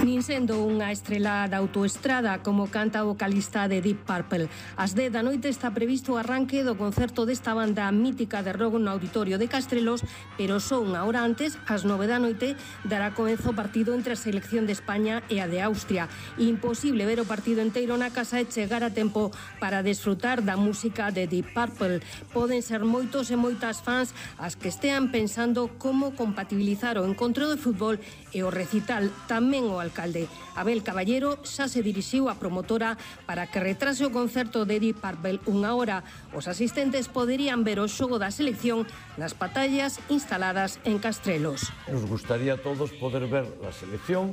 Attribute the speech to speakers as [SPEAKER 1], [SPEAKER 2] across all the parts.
[SPEAKER 1] Nin sendo unha estrela da autoestrada como canta o vocalista de Deep Purple. Ás 10 da noite está previsto o arranque do concerto desta banda mítica de rock no Auditorio de Castrelos, pero só unha hora antes, ás 9 da noite, dará comezo o partido entre a selección de España e a de Austria. Imposible ver o partido inteiro na casa e chegar a tempo para desfrutar da música de Deep Purple. Poden ser moitos e moitas fans as que estean pensando como compatibilizar o encontro de fútbol e o recital. Tamén o alcalde Abel Caballero xa se dirixiu á promotora para que retrase o concerto de Deep Purple unha hora. Os asistentes poderían ver o xogo da selección nas pantallas instaladas en Castrelos.
[SPEAKER 2] Nos gustaría a todos poder ver la selección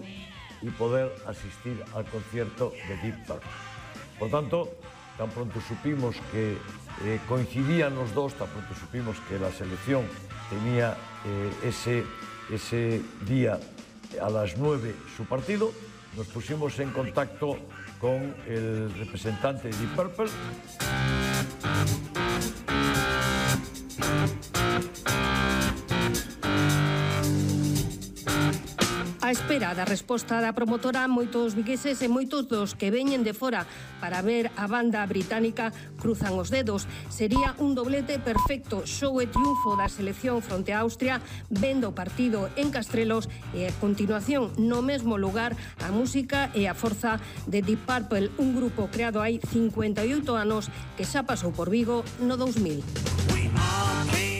[SPEAKER 2] y poder asistir al concierto de Deep Purple. Por tanto, tan pronto supimos que coincidían los dos, tan pronto supimos que la selección tenía ese día a las 9 su partido, nos pusimos en contacto con el representante de Deep Purple.
[SPEAKER 1] A espera da resposta da promotora, moitos vigueses e moitos dos que veñen de fora para ver a banda británica cruzan os dedos. Sería un doblete perfecto, show e triunfo da selección fronte a Austria, vendo o partido en Castrelos e a continuación no mesmo lugar a música e a forza de Deep Purple, un grupo creado hai 58 anos que xa pasou por Vigo no 2000.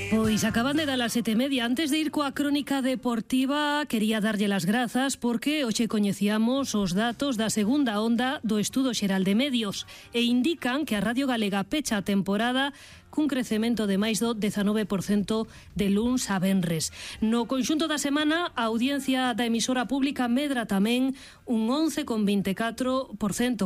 [SPEAKER 3] Pois acaban de dar as 7:30. Antes de ir coa crónica deportiva, quería darlle las grazas porque hoxe coñecíamos os datos da segunda onda do Estudo Xeral de Medios e indican que a Radio Galega pecha a temporada cun crecemento de máis do 19% de luns a venres. No conxunto da semana, a audiencia da emisora pública medra tamén un 11,24%,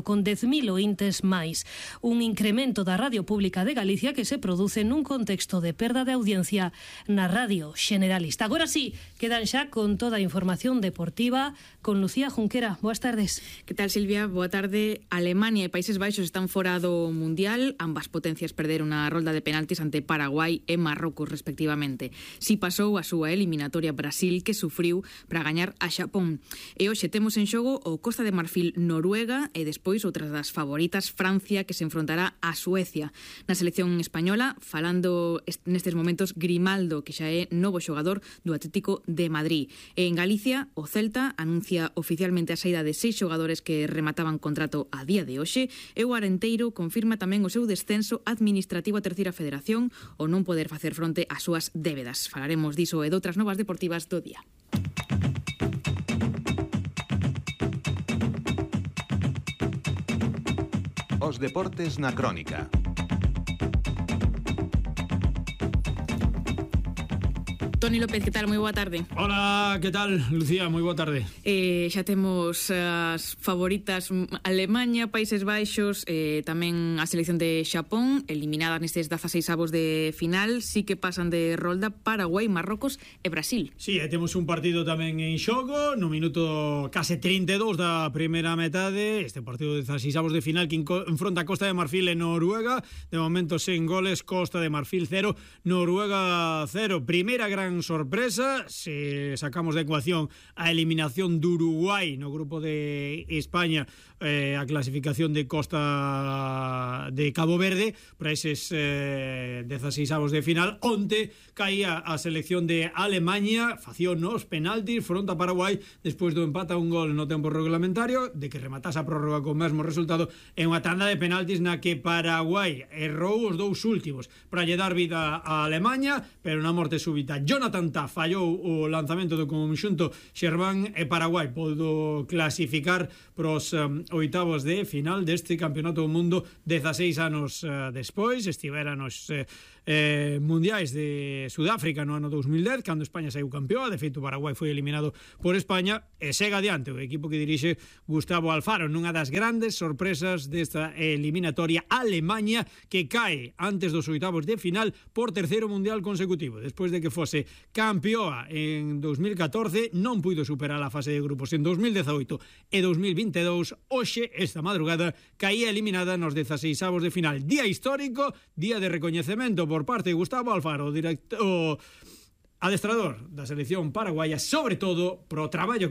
[SPEAKER 3] con 10.000 ointes máis. Un incremento da Radio Pública de Galicia que se produce nun contexto de perda de audiencia na radio generalista. Agora sí, quedan xa con toda a información deportiva con Lucía Junquera. Boas tardes.
[SPEAKER 4] Que tal, Silvia? Boa tarde. Alemania e Países Baixos están fora do Mundial. Ambas potencias perderon a rolda de penaltis ante Paraguai e Marrocos, respectivamente. Si pasou a súa eliminatoria Brasil, que sufriu para gañar a Xapón. E hoxe temos en xogo o Costa de Marfil Noruega e despois outras das favoritas, Francia, que se enfrontará a Suecia. Na selección española, falando nestes momentos Grimaldo, que xa é novo xogador do Atlético de Madrid. E en Galicia, o Celta anuncia oficialmente a saída de 6 xogadores que remataban contrato a día de hoxe e o Arenteiro confirma tamén o seu descenso administrativo a Terceira Federación o non poder facer fronte ás súas débedas. Falaremos diso e doutras novas deportivas do día.
[SPEAKER 5] Os deportes na crónica.
[SPEAKER 4] Toni López, que tal? Moi boa tarde.
[SPEAKER 6] Hola, que tal, Lucía? Moi boa tarde.
[SPEAKER 4] Xa temos as favoritas Alemanha, Países Baixos, tamén a selección de Xapón, eliminadas nestes 16avos de final, sí que pasan de rolda Paraguai, Marrocos e Brasil.
[SPEAKER 6] Sí, temos un partido tamén en xogo, no minuto case 32 da primeira metade, este partido de 16avos de final que enfronta Costa de Marfil e Noruega, de momento sen goles, Costa de Marfil 0, Noruega 0. Primeira gran sorpresa, se sacamos de ecuación a eliminación de Uruguai no grupo de España, a clasificación de Costa de Cabo Verde para eses 16avos de final. Onte caía a selección de Alemanha, facía nos penaltis fronte a Paraguai despois do empate a un gol no tempo reglamentario, de que rematase a prórroga con o mesmo resultado en unha tanda de penaltis na que Paraguai errou os dous últimos para lle dar vida a Alemanha, pero na morte súbita Jonathan Tah fallou o lanzamento do conxunto xermán e Paraguai podo clasificar pros oitavos de final deste campeonato do mundo 16 anos despois. Estivera nos mundiais de Sudáfrica no ano 2010, cando España saiu campeoa. De feito, Paraguai foi eliminado por España e segue adiante o equipo que dirixe Gustavo Alfaro nunha das grandes sorpresas desta eliminatoria. Alemanha, que cae antes dos oitavos de final por terceiro mundial consecutivo, despois de que fose campeoa en 2014, non puido superar a fase de grupos en 2018 e 2022. Hoxe, esta madrugada, caía eliminada nos 16avos de final. Día histórico, día de recoñecemento por parte de Gustavo Alfaro, adestrador da selección paraguaya, sobre todo pro traballo